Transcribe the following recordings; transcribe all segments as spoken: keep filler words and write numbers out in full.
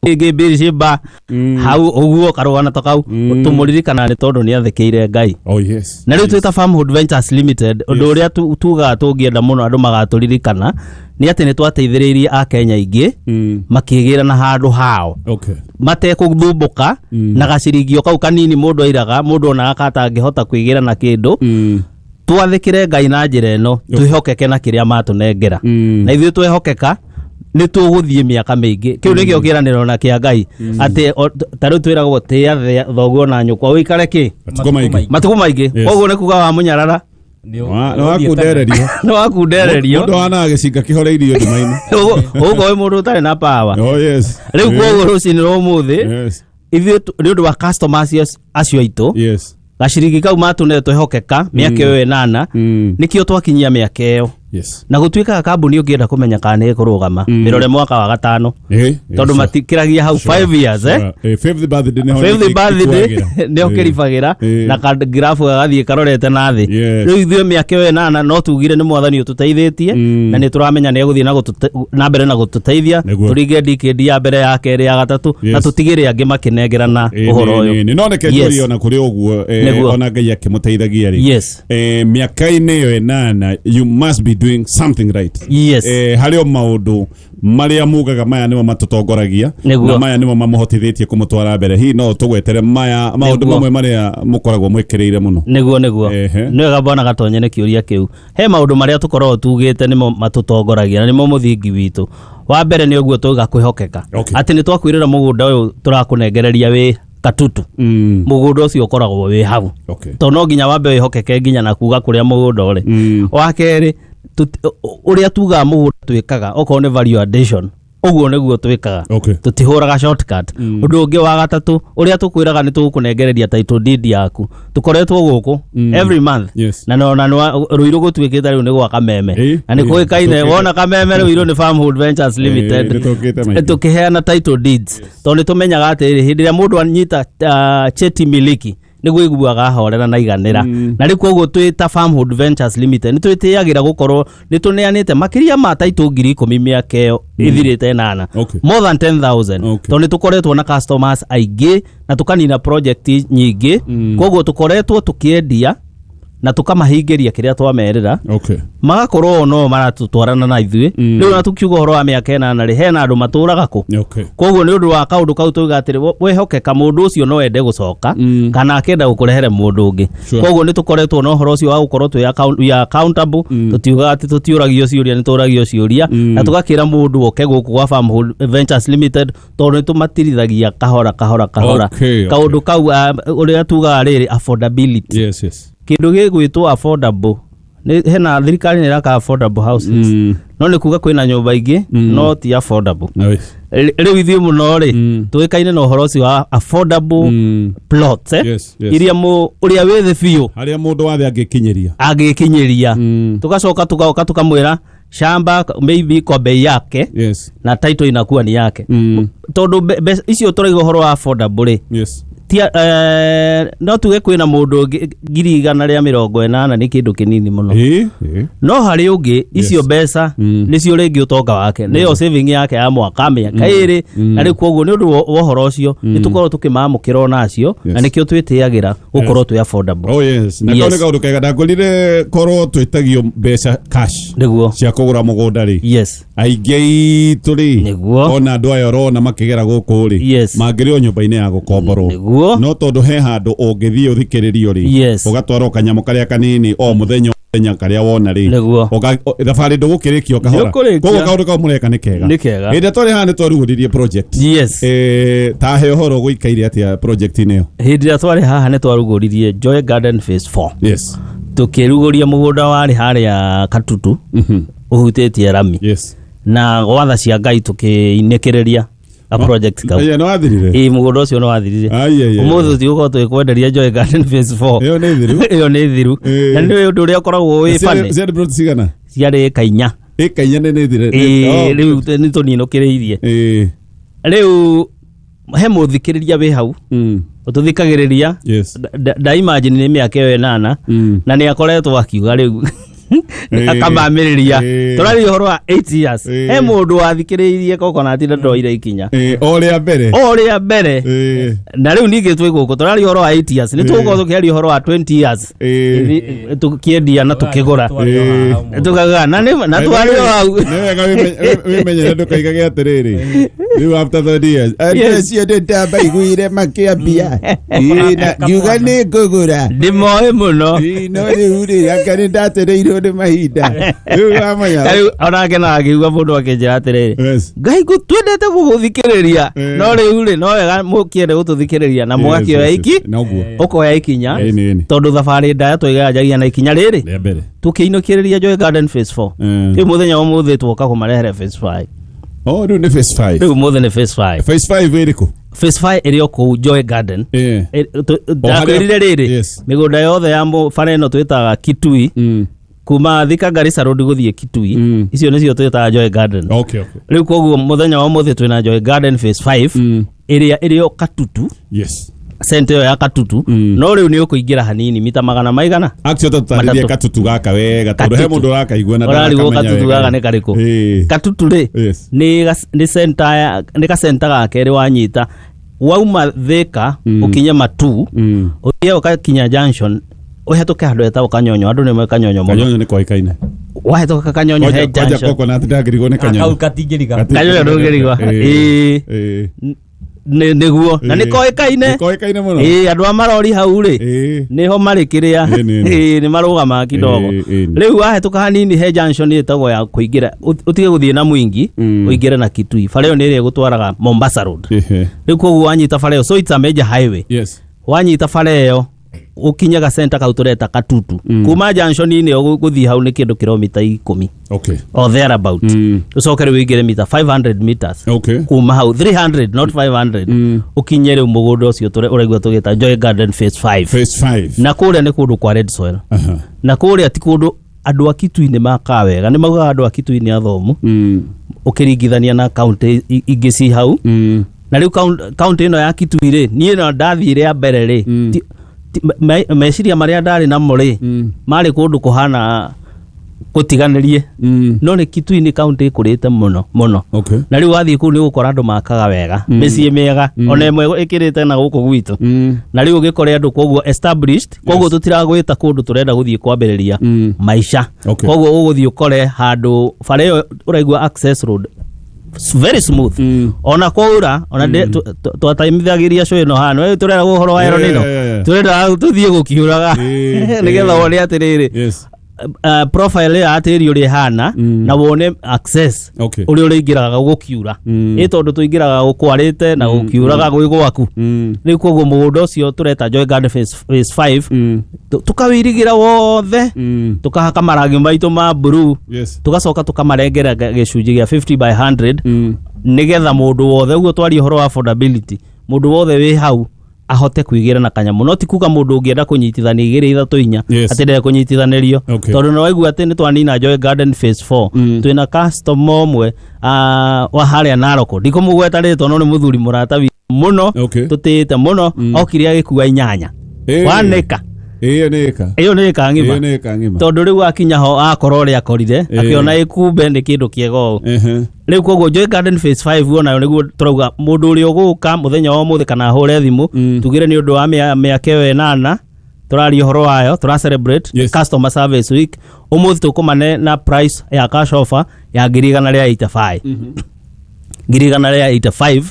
Ĩngĩ Birishimba hau ũguo, karũgano ta kau tũmũririkana nĩ tondũ nĩ athĩkĩire Ngai. Oh yes. Na rĩu twĩta Farmhood Ventures Limited, ũndũ ũrĩa tu- tugaga tũngĩenda mũno andũ magatũririkana nĩ atĩ nĩ twateithĩrĩirie Akenya aingĩ Mm. makĩgĩra na handũ hao Okay. matekũthumbũka na gaciringio kau kanini mũndũ airaga, mũndũ onaga katangĩhota kwĩgĩra na kĩndũ. Mm. Twathĩkĩre Ngai na njĩra ĩno, twĩhokeke na kĩrĩa matũnengera, Mm. na ithuĩ twehokeka nĩ tũgũthiĩ mĩaka mĩingĩ. Kĩu nĩkĩo kĩranĩro na kĩa Ngai, atĩ o- ta rĩu twĩragwo tĩĩa the- thoguo na nyũkwa ũikare kĩ? Matukũ maingĩ. Matukũ maingĩ. Yes. Koguo nĩ kuga wa mũnyarara Wa- nĩ wakundererio. Nĩ wakundererio. Mũndũ hanaga gĩcinga kĩhoreirio nduma-inĩ. Ũguo wĩ mũndũ ũtarĩ na power. Oh yes. Rĩu koguo rũcinĩ rwa ũmũthĩ, Yes. ithuĩ tu- nĩ ũndũ wa customers acio- acio aitũ, Yes. gaciringi kau matũne twehokeka mĩaka ĩyo ĩnana, Mm. nĩkĩo twakinyia mĩaka ĩyo. Yes. Na gũtuĩkaga kambuni ũngĩenda kũmenya kana nĩ ĩkũrũgama, mĩrore mwaka wa gatano, Eh. tondũ matikĩragia hau five years, eh. Eh, fifth birthday nĩho Fifth birthday ĩkuagĩra. nĩho kĩribagĩra Eh. na kagirabu gagathiĩ karorete na thĩ. Yes. Rĩu ithuĩ mĩaka ĩyo ĩnana no tugire nĩ Mwathani ũtũteithĩtie, Mm. na nĩ tũramenya nĩ egũthiĩ na gũtũte- na mbere na gũtũteithia Nĩguo. tũringe ndikĩndi ya mbere, ya kerĩ, ya gatatũ, na Yes. tũtigĩre angĩ makĩnengerana Eh, ũhoro nĩ- ũyũ. nĩ- nĩ no reke Yes. njũrie, ona kũrĩ ũguo, eh, Nĩguo. ona Ngai akĩmũteithagia rĩ, Yes. eh, mĩaka-inĩ ĩyo ĩnana, you must be doing something right. Yes. eh, harĩ o maũndũ marĩa mugaga maya nĩmo matũtongoragia Nĩguo. na maya nĩmo mamũhotithĩtie kũmũtwara mbere. Hihi no tũgwetere maya maũndũ Nĩguo. mamwe marĩa mũkoragwo mwĩkĩrĩire mũno? nĩguo nĩguo Ehe. Nĩ wega bwana Gatonye nĩ kĩũria kĩu. He maũndũ marĩa tũkoragwo tugĩte nĩmo matũtongoragia na nĩmo mũthingi witũ. Wa mbere nĩ ũguo tuga kwĩhokeka, Okay. atĩ nĩ twakwĩrĩra mũgũnda ũyũ tũrakũnengereria wĩ Katutu, Mm. mũgũnda ũcio ũkoragwo wĩ hau, Okay. tondũ no nginya wambe wĩhokeke nginya na kuga kũrĩa mũgũnda ũrĩ. Mm. Wa kerĩ, tũti- ũrĩa tugaga mũgũnda twĩkaga, okorwo nĩ value addition, ũguo nĩguo twĩkaga. Okay. Tũtihũraga shortcut. Ũndũ ũngĩ wa gatatũ, ũrĩa tũkwĩraga nĩ tũgũkũnengereria title deed yaku, tũkoretwo gũkũ every month. Yes. Na nona Rũirũ gũtuĩkĩte rĩu nĩ gwa Kameme, Ĩ, na nĩ ĩ, kũĩkaine. tũkĩte. Wona Kameme, Rũirũ nĩ Farmhold Ventures Limited. Ĩ, nĩtũkĩte maingĩ. Tũkĩheana title deeds tondũ nĩ tũmenyaga atĩrĩrĩ, hĩndĩ ĩrĩa mũndũ anyita uh, cheti miliki nĩguo iguaga ahorera na iganĩra. Na rĩu koguo twĩ ta Farmhold Ventures Limited nĩ twĩtĩagĩra gũkorwo nĩ tũneanĩte makĩria ma title ngiri ikũmi mĩaka ĩyo ĩthirĩte ĩnana, Okay. more than ten thousand, Okay. tondũ nĩ tũkoretwo na customers aingĩ na tũkanina project nyingĩ. Koguo tũkoretwo tũkĩendia na tũkamahingĩria kĩrĩa twamerĩra, Okay. magakorwo o no maratũtwarana na ithuĩ. Rĩu na tukiuga ũhoro wa mĩaka ĩnana rĩ, hena andũ matũraga kũ. Okay. Koguo nĩ ũndũ wa kaũndũ kau tuga atĩrĩ, wehokeka mũndũ ũcio no ende gũcoka Mm. kana akenda gũkũrehere mũndũ ũngĩ. Sure. Koguo nĩ tũkoretwo na ũhoro ũcio wa gũkorwo twĩ account, we are accountable. Tũtiugaga atĩ tũtiũragio ciũria, nĩ tũragio ciũria, na tũgakĩra mũndũ oke gũkũ gwa Farmhold Ventures Limited tondũ nĩ tũmatirithagia kahora kahora kahora. Okay, okay. Kaũndũ kau, ah, ũrĩa tugaga rĩrĩ, affordability. Yes, yes. Kĩndũ gĩgwĩtwo affordable, nĩ hena thirikari nĩ ĩraka affordable houses, Mm. no nĩ kuga kwĩna nyũmba ingĩ no ti affordable. Nice. Rĩ- rĩu ithuĩ mũno rĩ, Mm. tũĩkaine na ũhoro ũcio wa affordable Mm. plots, eh? Yes, yes. Iria mũ ũrĩa wĩ thĩ biũ harĩa mũndũ wathe angĩkinyĩria. Angĩkinyĩria. Mm. Tugacoka tugaoka tukamwĩra shamba maybe kwa bei yake Yes. na title inakuwa ni yake, Mm. tondũ mbe- mbeca icio tũraiga ũhoro wa affordable rĩ, Yes. tia eh, no tuge kwĩna mũndũ ũngĩ ngiri igana rĩa mĩrongo ĩnana nĩ kĩndũ kĩnini mũno, Ĩ, ĩ. no harĩ ũngĩ icio Yes. mbeca Mm. nĩcio rĩngĩ ũtonga wake, nĩyo saving yake ya mwaka, mĩaka ĩrĩ. Na rĩu koguo nĩ ũndũ wa wa ũhoro ũcio nĩ tũkorwo tũkĩmamũkĩra onacio, na Yes. nĩkĩo twĩtĩagĩra gũkorwo twĩ affordable. Oh yes. Na Yes. kau nĩ kaũndũ kega. Ndakorire korwo twĩtagio mbeca cash nĩguo cia kũgũra mũgũnda rĩ, yes aingĩ aitũ rĩ, Nĩguo. ona andũ aya ũrona makĩgera gũkũ rĩ, Yes. mangĩrĩ o nyũmba-inĩ ya gũkomborwo. Nĩguo. No tondũ he handũ ũngĩthiĩ ũthikĩrĩrio rĩ, Yes. ũgatwarwo kanyamũ karĩa kanini o mũthenya o mũthenya karĩa wona rĩ, Nĩguo. Ũga- o- thabarĩ ndũgũkĩrĩkia o kahora. Nĩũkũrĩkia. Koguo kaũndũ kau mũreka nĩ kega. Nĩ kega. Hĩndĩ ĩrĩa twarĩ haha nĩ twarugũririe project. yes Eh, tahe ũhoro gũikaire atĩa project-inĩ ĩyo? Hĩndĩ ĩrĩa twarĩ haha nĩ twarugũririe Joy Garden Phase four. Yes Tũkĩrugũria mũgũnda warĩ harĩa Katutu Mhm. ũhutĩtie rami, yes na gwatha cia Ngai tũkĩinĩkĩrĩria a project kau. Ĩĩ, nĩ wathirire? Ĩĩ, mũgũnda ũcio nĩ wathirire. Ai, ai, ai. Ũmũthĩ tũtigũkorwo tũgĩkwenderia Joy Garden Phase four. Ĩyo nĩ thiru. Ĩyo nĩ thiru. Ĩĩ. Na nĩ ũndũ ũrĩa ũkoragwo wĩ Ciarĩ- funny, ciarĩ plot cigana? Ciarĩ ĩka inya. Ĩka inya nĩ nĩ thire. Ĩĩ, rĩu nĩ tũninũkĩrĩirie. Ĩĩ. Rĩu he mũthikĩrĩria wĩ hau Mm. ũtũthikagĩrĩria, Yes. nda imagine nĩ mĩaka ĩyo ĩnana, Mm. na nĩ akoretwo akiuga rĩu Akamamĩrĩria. Tũraria ũhoro wa eight years. He mũndũ wathikĩrĩirie coconut na ndoire ikinya. O rĩa mbere. O rĩa mbere. Na rĩu ningĩ twĩ gũkũ tũraria ũhoro wa eight years. Nĩ tũgũkorwo tũkĩaria ũhoro wa twenty years. Tũkĩendia na tũkĩgũra. Tũkaga na nĩ na twario hau. Nĩ wega wĩmenyere ndũkaigage atĩrĩrĩ. Rĩu after thirty years. Andũ acio ndĩndambaiguire makĩambia. Ngiuga nĩ ngũgũra. Ndĩmoĩ mũno. No rĩu rĩ anga nĩ ndatereirwo nĩ mahinda. Rĩu wamenya. Rĩu onake no akĩigua mũndũ akĩnjĩra atĩrĩrĩ. Ngai twendete gũgũthikĩrĩria. No rĩu rĩ no wega mũkĩende gũtũthikĩrĩria na mũgakĩoya iki. Ũkoya ikinya. Tondũ thabarĩ ndaya tũiganjagia na ikinya rĩrĩ. Tũkĩinũkĩrĩria Joy Garden Phase four. Rĩu mũthenya wa ũmũthĩ twoka kũmarehere Phase five. Oh, rĩu nĩ Phase five. Rĩu ũmũthĩ nĩ Phase five. Phase five ĩrĩkũ? Phase five ĩrĩ o kũu Joy Garden. Ndakwĩrire rĩrĩ mĩgũnda yothe ya bara ĩno twĩtaga Kitui kuma Thika Garissa Road gũthiĩ Kitui icio nĩcio twĩtaga Joy Garden. Okay, okay. Rĩu koguo mũthenya wa ũmũthĩ twĩna Joy Garden Phase five ĩrĩa ĩrĩ o Katutu. Yes. Center ya Katutu. No rĩu nĩ ũkũingĩra hanini mita magana maigana. Actually tũtarĩrie Katutu gaka wega tondũ he mũndũ ũrakaigua na ndarakamenya. Ũrarigwo Katutu gaka nĩ karĩkũ? Katutu rĩ nĩ nĩ center ya nĩ ka center ga kerĩ wanyita wauma Thika ũkinye Matu ũthiĩ ũgakinya junction ũhetũke handũ hetagwo Kanyonyo. Andũ nĩ moĩ Kanyonyo mũno. Kanyonyo nĩ koĩkaine. Wahĩtũka Kanyonyo he junction. Kwanja coconut ndangĩrigwo nĩ Kanyonyo. Kau katingĩriga. Kanyonyo ndũngĩrigwa. Ĩĩ. Nĩguo na nĩ koĩkaine. Nĩ koĩkaine mũno. Ĩĩ andũ a marori hau rĩ nĩho marĩ kĩrĩa ĩĩ nĩ marũgamaga kidogo. Rĩu wahĩtũka hanini he junction ĩtagwo ya kũingĩra ũtige gũthiĩ na Mwingi ũingĩre na Kitui. Bara ĩyo nĩ ĩrĩa ĩgũtwaraga Mombasa Road. Rĩu koguo wanyita bara ĩyo, so it's a major highway. Yes. Wanyita bara ĩyo ũkinyaga center kau tũreta Katutu. Kuma junction-inĩ ĩyo gũthiĩ hau nĩ kĩndũ kilomita ikũmi. Okay. Or thereabout. Ũcoke rĩu ũingĩre mita five hundred meters. Okay. Kuma hau three hundred not five hundred. Ũkinye rĩu mũgũnda ũcio ũraigua tũgĩta Joy Garden Phase five. Phase five. Na kũrĩa nĩ kũndũ kwa red soil. Na kũrĩa ti kũndũ andũ a Kitui nĩ makaga wega. Nĩ maugaga andũ a Kitui nĩ athomu. Ũkĩringithania na county ingĩ ci hau. Na rĩu county ĩno ya Kitui rĩ niĩ no ndathiĩ rĩa mbere rĩ meciria marĩa ndarĩ namo rĩ marĩ kũndũ kũhana gũtiganĩrie. No nĩ Kitui nĩ county ĩkũrĩte mũno mũno. Na rĩu wathiĩ kũu nĩ ũgũkora andũ makaga wega mĩciĩ mĩega ona ĩmwe ĩkĩrĩte na gũkũ gwitũ. Na rĩu ũgĩkore andũ koguo established koguo tũtiragwĩta kũndũ tũrenda gũthiĩ kwambĩrĩria maica. Koguo ũgũthiĩ ũkore handũ bara ĩyo ũraigua access road very smooth. Ona kwaura ona twataimithagĩria show ĩno hano ĩ tũrera ũhoro wa ero nĩno tũrenda tũthiĩ gũkiuraga nĩgetha wone atĩrĩrĩ profile ya atĩri ũrĩa ĩhana na wone access ũrĩa ũrĩingĩraga gũkiura ĩ tondũ tũingĩraga gũkwarĩte na gũkiuraga gwĩ gwaku. Rĩu koguo mũgũnda ũcio tũreta Joy Garden Phase five tũkawĩirigĩra wothe tũkahaka marangi maitũ ma blue tũgacoka tũkamarengera gĩcunjĩ gĩa fifty by hundred nĩgetha mũndũ wothe ũguo twarie ũhoro wa affordability mũndũ wothe wĩ hau ahote kuigĩra na kanyamũ. No ti kuga mũndũ ũngĩenda kũnyitithania igĩrĩ ithatũ inya atĩ ndere kũnyitithanĩrio tondũ nĩ waigua atĩ nĩ twanina Joy Garden Phase four. Twĩna customer ũmwe wa harĩa Narok ndikũmũgweta rĩtwa no nĩ mũthuri mũrata witũ mũno tũtĩĩte mũno okire agĩkua inyanya wanĩka. Ĩyo nĩ ĩka. Ĩyo nĩ ĩka ng'ima. Ĩyo nĩ ĩka ng'ima. Tondũ rĩu akinya ho akorwo ũrĩa akorire akĩona ĩkumbe nĩ kĩndũ kĩega ũũ. Rĩu koguo Joy Garden Phase five onayo nĩguo tũrauga mũndũ ũrĩa ũgũka mũthenya wa ũmũthĩ kana ahũre thimũ tugire nĩ ũndũ wa mĩaka ĩyo ĩnana tũraria ũhoro wayo tũra celebrate customer service week ũmũthĩ tũkũmane na price ya cash offer ya ngiri igana rĩa eighty five. Ngiri igana rĩa eighty five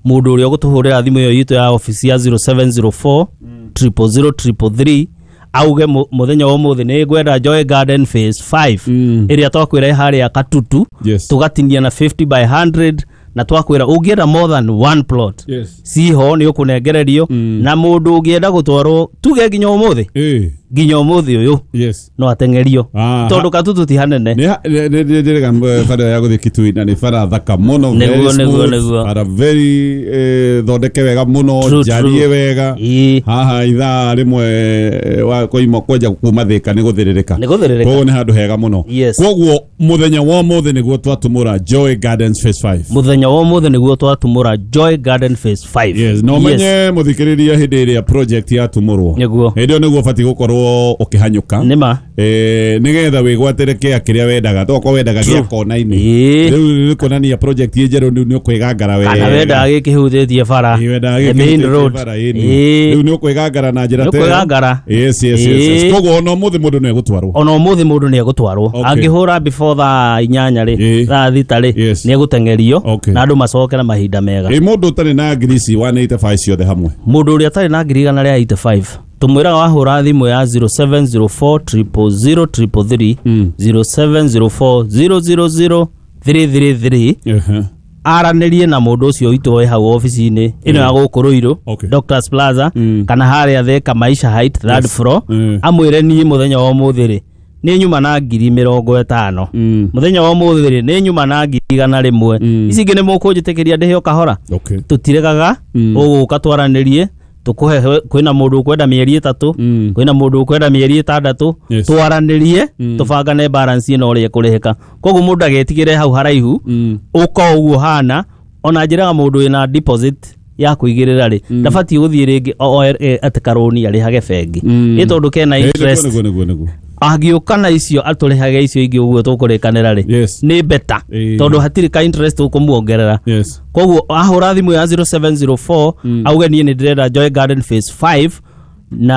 mũndũ ũrĩa ũgũtũhũrĩra thimũ ĩyo itũ ya office ya zero seven zero four triple zero triple three auge mũthenya wa ũmũthĩ nĩ ngwenda Joy Garden Phase five ĩrĩa twakwĩra harĩa Katutu tũgatinia na fifty by hundred na twakwĩra ũngĩenda more than one plot ciho nĩ ũkũnengererio na mũndũ ũngĩenda gũtwarwo tuge nginya ũmũthĩ nginya ũmũthĩ ũyũ no ateng'erio tondũ Katutu ti hanene. Nĩ ndĩrega bara ya gũthiĩ Kitui na nĩ bara thaka mũno bara very thondeke wega mũno njarie wega haha ithaa rĩmwe wa koima kwenja kuma Thika nĩ gũthĩrĩrĩka koguo nĩ handũ hega mũno. Koguo mũthenya wa ũmũthĩ nĩguo twatumũra Joy Gardens Phase five. Mũthenya wa ũmũthĩ nĩguo twatumũra Joy Garden Phase five. Yes, no menye mũthikĩrĩria hĩndĩ ĩrĩa project yatumũrwo hĩndĩ ĩyo nĩguo ũbatiĩ gũkorwo ũgũkorwo ũkĩhanyũka Nĩma. eh nigetha wĩgwatĩre kĩa kĩrĩa wendaga tokorwo wendaga gĩa kona-inĩ. Ĩĩ. Rĩu nĩ kuonania project ĩ njerũ rĩu nĩ ũkwĩgangara wega. Kana wendaga gĩkĩhutĩtie bara. Ĩĩ, wendaga The main gĩkĩhutĩtie road. bara, ĩĩ, Ĩĩ. rĩu nĩ ũkwĩgangara na njĩra Nĩ ta ĩyo. ũkwĩgangara. Yes, yes, yes, yes. Ĩĩ. Koguo ona ũmũthĩ mũndũ nĩ egũtwarwo. Ona ũmũthĩ mũndũ nĩ egũtwarwo. Okay. Angĩhũra before thaa inyanya rĩ, Ĩĩ. thaa thita rĩ, Yes. nĩ egũteng'erio Okay. na andũ macokera mahinda mega. Ĩ mũndũ ũtarĩ na ngiri ici one eighty-five ciothe hamwe? Mũndũ ũrĩa atarĩ na ngiri igana rĩa eighty-five, tũmwĩraga wahũra thimũ ya zero seven zero four zero zero zero three three, Mm. zero seven zero four zero zero zero three three three, Ehe. aranĩrie na mũndũ ũcio witũ wĩ hau obici-inĩ ĩno ya gũkũ Ruiru, Okay. Doctors Plaza, Mm. kana harĩa Thika Maisha Height, third Yes. floor, Mm. amwĩre, niĩ mũthenya wa ũmũthĩ rĩ, nĩ nyuma na ngiri mĩrongo ĩtano. Mm. Mũthenya wa ũmũthĩ rĩ, nĩ nyuma na ngiri igana rĩmwe. Mm. Ici ingĩ nĩ mũkũnjĩtĩkĩria ndĩhe o kahora. Okay. Tũtiregaga. Mm. Ũgũka twaranĩrie, tũkũhe. Kwĩna mũndũ ũkwenda mĩeri ĩtatũ, Mm. kwĩna mũndũ ũkwenda mĩeri ĩtandatũ. Yes. Twaranĩrie, Mm. tũbangane balance ĩno ũrĩa ĩkũrĩhĩka. Koguo mũndũ agetigĩre hau haraihu, Mm. ũka o ũguo hana. Ona njĩraga mũndũ wĩna deposit ya kũigĩrĩra rĩ, ndabatiĩ gũthiĩ rĩngĩ o- o- e- atĩ karũni arĩhage bengi, Mm. nĩ tondũ kena Ĩ, nĩguo, interest. nĩguo, nĩguo, nĩguo. Angĩũka na icio, atũrĩhage icio ingĩ ũguo tũkũrĩkanĩra rĩ, Yes. nĩ better, Ĩĩ. tondũ hatirĩ ka interest ũkũmuongerera. Yes. Koguo ahũra thimũ ya zero seven zero four, Mm. auge, niĩ nĩ ndĩrenda Joy Garden phase five na